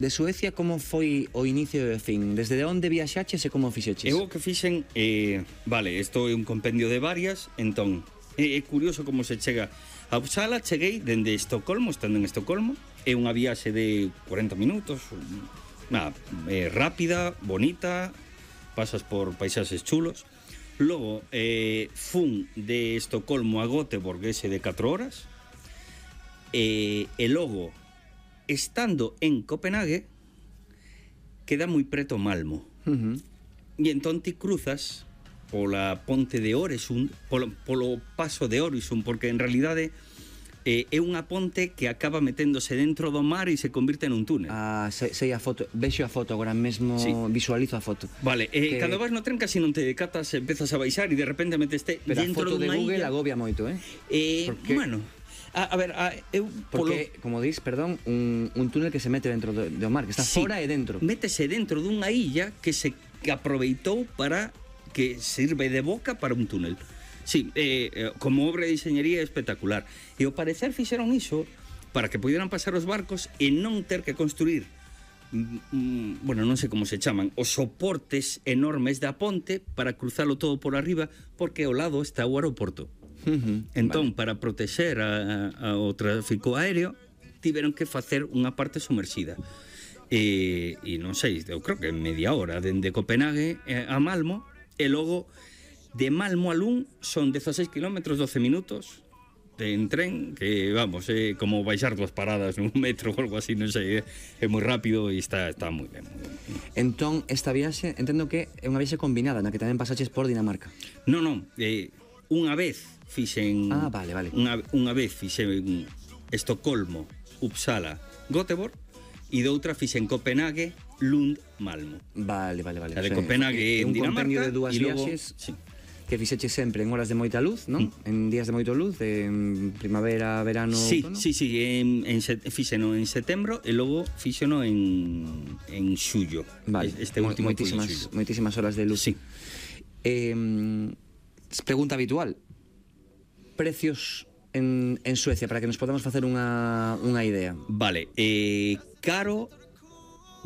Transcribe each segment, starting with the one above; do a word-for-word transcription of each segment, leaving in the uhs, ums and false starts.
De Suecia, como foi o inicio e o fin? Desde onde viaxaches e como fixeches? Eu o que fixen, eh, vale, isto é un compendio de varias, entón, é, é curioso como se chega a Uppsala. Cheguei dende Estocolmo, estando en Estocolmo, é unha viaxe de cuarenta minutos, nada, é rápida, bonita, pasas por paisaxes chulos. Logo, eh, fun de Estocolmo a Göteborg, ese de catro horas, e, e logo, estando en Copenhague, queda moi preto Malmo. Uh -huh. E entón ti cruzas pola ponte de Oresund, polo, polo paso de Oresund, porque en realidade eh, é unha ponte que acaba meténdose dentro do mar e se convirte en un túnel. Ah, sei, sei a foto, vexo a foto agora mesmo, sí. Visualizo a foto. Vale, eh, que... cando vas no tren casi non te decatas, empezas a baixar e de repente meteste Pero dentro dunha illa. Pero a foto de Google illa. agobia moito, eh? Eh, porque... bueno... A, a ver, a, eu... Porque, polo... como dis, perdón, un, un túnel que se mete dentro do, do mar, que está sí, fora e dentro. Métese dentro dunha illa que se que aproveitou para que sirve de boca para un túnel. Sí, eh, como obra de diseñería espectacular. E ao parecer fixeron iso para que pudieran pasar os barcos e non ter que construir, mm, bueno, non sei como se chaman, os soportes enormes da ponte para cruzalo todo por arriba, porque ao lado está o aeroporto. Uh -huh, entón, vale. Para protexer a, a, o tráfico aéreo tiveron que facer unha parte sumerxida e, e non sei, eu creo que media hora dende Copenhague a Malmo, e logo de Malmo a Lund son dieciséis kilómetros, doce minutos en tren, que vamos, é como baixar dúas paradas nun metro ou algo así, non sei, é, é moi rápido e está, está moi ben, moi ben. Entón, esta viaxe, entendo que é unha viaxe combinada, na que tamén pasaches por Dinamarca. Non, non, eh, unha vez fixen ah, vale, vale. Unha, unha vez fixen Estocolmo, Uppsala, Göteborg, e doutra fixen Copenhague, Lund, Malmo. Vale, vale, vale. A de o sea, Copenhague en Dinamarca, un compendio de dúas logo, viaxes sí, que fixeches sempre en horas de moita luz, non? Mm. En días de moito luz, en primavera, verano, sí, outono. Sí, sí, en, en set, fixeno en setembro e logo fixeno en en xullo. Vale. Este último moitísimas, moitísimas horas de luz. Sí. Eh, pregunta habitual. Precios en, en Suecia, para que nos podamos facer unha, unha idea. Vale, eh, caro,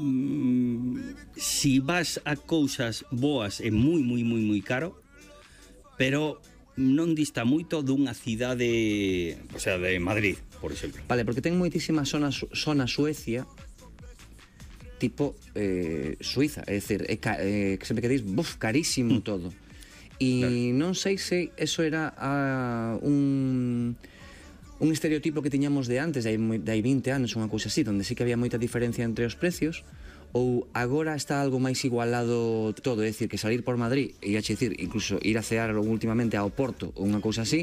mm, si vas a cousas boas é moi, moi, moi, moi caro, pero non dista moito dunha cidade, o sea, de Madrid, por exemplo. Vale, porque ten moitísimas zonas zona Suecia tipo eh, Suiza, é dicir, é, eh, que sempre que dis, buf, carísimo mm. todo. E claro, non sei se eso era uh, un un estereotipo que tiñamos de antes, de hai, de hai vinte anos, unha cousa así, onde sí que había moita diferencia entre os precios, ou agora está algo máis igualado todo, é dicir, que salir por Madrid, e a dicir, incluso ir a cear últimamente ao Porto, ou unha cousa así,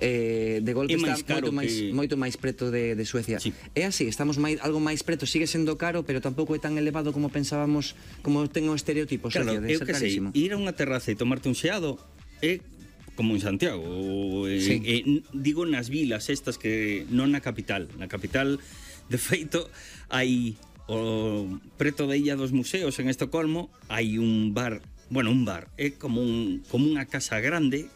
eh, de golpe está moito máis, que... moito máis preto de, de Suecia. Sí. É así, estamos máis, algo máis preto, sigue sendo caro, pero tampouco é tan elevado como pensábamos, como ten o estereotipo, claro, Suecia, de ser carísimo. Sei, ir a unha terraza e tomarte un xeado é como en Santiago, eh, sí. eh, digo nas vilas estas que non na capital. Na capital, de feito, hai o preto da Illa dos Museos en Estocolmo, hai un bar, bueno, un bar, é como un como unha casa grande,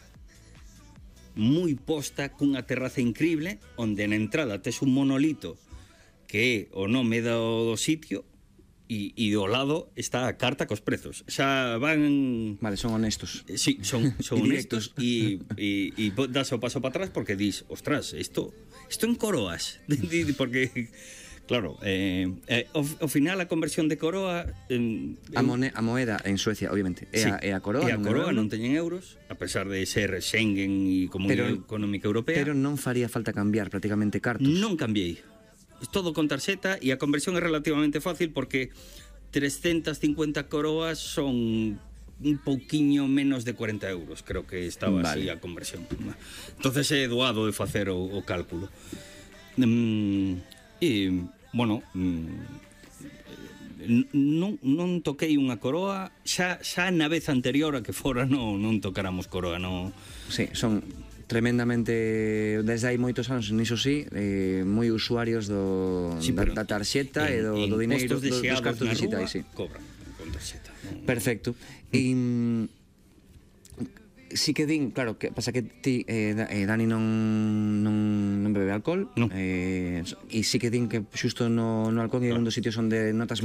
moi posta, cunha terraza increíble, onde na entrada tes un monolito que é o nome do, do sitio, e, e do lado está a carta cos prezos. Xa van... Vale, son honestos. Sí, son, son honestos e, e, e das o paso para atrás porque dis, ostras, isto isto en coroas, porque claro, eh, eh, ao, ao final a conversión de coroa eh, a, mone, a moeda en Suecia, obviamente, é, sí, a, é a coroa, e a coroa non teñen euros, a pesar de ser Schengen e Comunidade Económica Europea. Pero non faría falta cambiar prácticamente cartos. Non cambiei. Todo con tarxeta e a conversión é relativamente fácil porque trescentas cincuenta coroas son un pouquiño menos de cuarenta euros, creo que estaba vale. Así a conversión. Entonces é doado de facer o, o cálculo. Mm, e, bueno, mm, non, non toquei unha coroa, xa, xa na vez anterior a que fora non, non tocáramos coroa, non... Sí, son... tremendamente, desde hai moitos anos niso sí, eh, moi usuarios do, sí, da, da tarxeta e do, do dineiro, do, dos cartos digitais, sí. Cobran con tarxeta. Perfecto. E sí que din, claro, que pasa que ti, eh, Da- eh, Dani non, non, non bebe alcohol, Non. eh, e sí que din que xusto no, no alcohol é un dos sitios onde notas